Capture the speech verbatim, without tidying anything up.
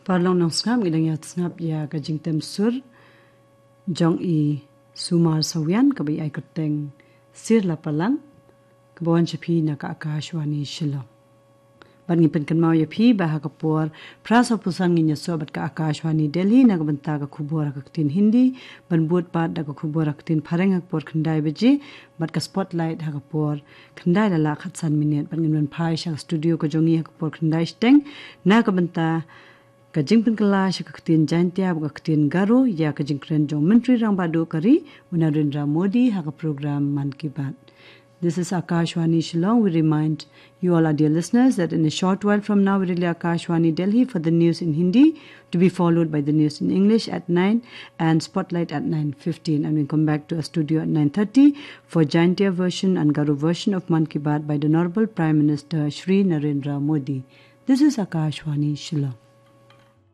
Paralok nongsngap, ngi dang ïa sngap ïa ka jingtem sur jong i Sumar Sawian kaba i ai kyrteng Sir Lapalang, kaba wan sha phi na ka Akashvani Shillong. Bad ngi pynkynmaw ïa phi ba ha ka por phra saw phew san ngin ïasoh bad ka Akashvani Delhi na ka bynta ka khubor ha ka ktien Hindi, ban bud pat da ka khubor ha ka ktien Phareng ha ka por khyndai baje, bad ka Spotlight ha ka por khyndai la lah khatsan minit, bad ngin wan phai sha ka studio ka jong ngi ha ka por khyndai shiteng na ka bynta ka jingpynkylla sha ka ktien Jaintia bad ka ktien Garo ïa ka jingkren jong Myntri Rangbah Duh ka ri, u Narendra Modi, ha ka program Mann Ki Baat. This is Akashvani Shillong. We remind you all, our dear listeners, that in a short while from now, we relay Akashvani Delhi for the news in Hindi, to be followed by the news in English at nine and Spotlight at nine fifteen. And we come back to our studio at nine thirty for Jaintia version and Garo version of Mann Ki Baat by the Honorable Prime Minister Shri Narendra Modi. This is Akashvani Shillong.